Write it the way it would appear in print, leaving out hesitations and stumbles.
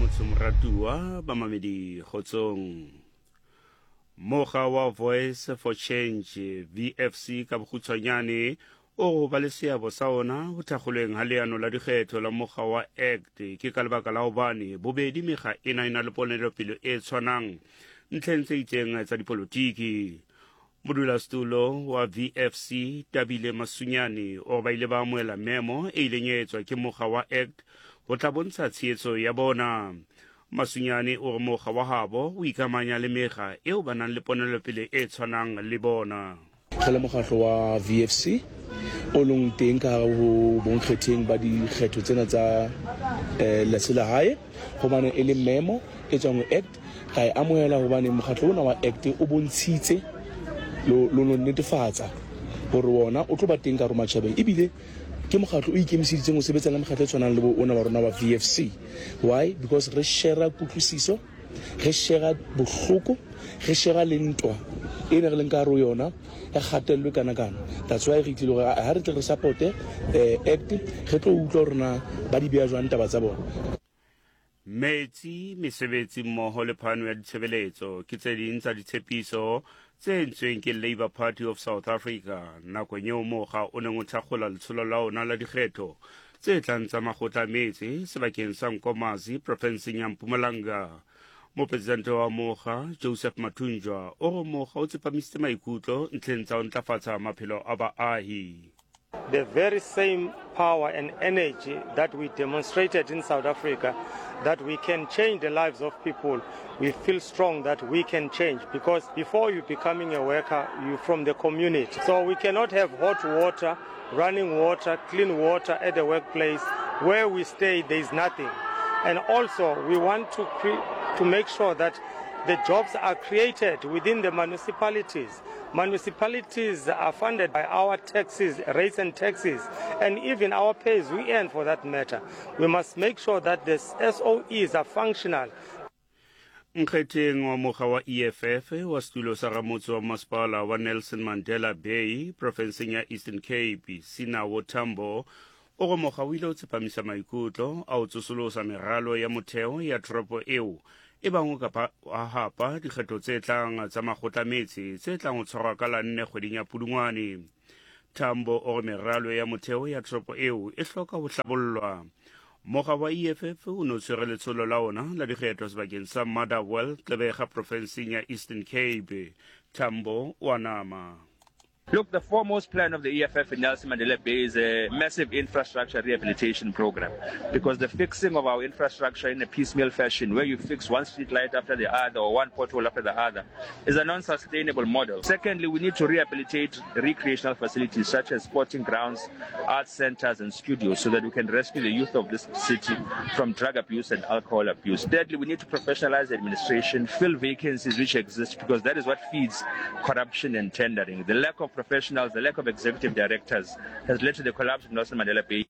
Motho moratuwa bamamedi kgotsong. Mokga wa Voice for Change, VFC ka bokgutshwanyane, o go ba le seabo sa ona go thakgolweng ga leano la dikgetho la mokga wa ACT ke ka lebaka la gobane bobedi mekga ena e na le ponelopele e tshwanang ntlheng tse itseng tsa dipolotiki. Modulasetulo wa VFC Tabile Masunyane o re ba ile ba amohela memo e ileng ya etswa ke mokga wa ACT go tla bontsha tshehetso ya bona. Masunyane o re mokga wa habo o ikamanya le mekga eo ba nang le ponelopele e tshwanang le bona. Re le mokgahlo wa VFC o leng teng ka hare ho bonkgetheng ba dikgetho tsena tsa selehae, hobane e le memo e tswang ho ACT, ra e amohela hobane mokgahlo ona wa ACT o bontshitse le lo netefatsa hore wona o tlo ba teng ka hare ho matjhabeng, ebile ke mokgahlo o ikemiseditseng ho sebetsa le mekgahlo e tshwanang le bo ona wa rona wa VFC. Why? Because re shera kutlwisiso, re shera bohloko, re shera le ntwa e ne re leng ka hare ho yona ya kgatello e kana-kana. That's why re tlile hore ha re tle re supporte ACT, re tlo utlwa hore na ba di beha jwang taba tsa bona. Metsi, mesebetsi mmoho le phano ya ditshebeletso ke tse ding tsa ditshepiso tse entsweng ke Labour Party of South Africa nakong eo mokga o neng o thakgola letsholo la ona la dikgetho tse tlang tsa makgotla a metse sebakeng sa Nkomazi profenseng ya Mpumalanga. Mopresidente wa mokga Joseph Mathunjwa o re mokga o tsepamisitse maikutlo ntlheng tsa ho ntlafatsa maphelo a baahi. The very same power and energy that we demonstrated in South Africa, that we can change the lives of people, we feel strong that we can change, because before you becoming a worker, you're from the community. So we cannot have hot water, running water, clean water at the workplace. Where we stay, there is nothing. And also, we want to make sure that the jobs are created within the municipalities. Municipalities are funded by our taxes, rates and taxes, and even our pays we earn for that matter. We must make sure that the SOEs are functional. Nkgetheng wa mokga wa EFF wa setulo sa ramotse wa masepala wa Nelson Mandela Bay profenseng ya Eastern Cape, Sinawo Tambo, o re mokga o ile o tsepamisa maikutlo a ho tsosolosa meralo ya motheo ya toropo eo e bang o ka wa hapa dikgetho tse tlang tsa makgotla metse tse tlang ho tshwarwa ka la nne kgweding ya Pudungwane. Tambo o re meralo ya motheo ya toropo eo e hloka ho hlabollwa. Mokga wa EFF o ne o tshwere letsholo la ona la dikgetho sebakeng sa Motherwell, Gqeberha profenseng ya Eastern Cape. Tambo o a nama. Look, the foremost plan of the EFF in Nelson Mandela Bay is a massive infrastructure rehabilitation program, because the fixing of our infrastructure in a piecemeal fashion, where you fix one street light after the other or one pothole after the other, is a non-sustainable model. Secondly, we need to rehabilitate recreational facilities such as sporting grounds, arts centers and studios, so that we can rescue the youth of this city from drug abuse and alcohol abuse. Thirdly, we need to professionalize administration, fill vacancies which exist, because that is what feeds corruption and tendering. The lack of professionals, the lack of executive directors has led to the collapse of Nelson Mandela Bay.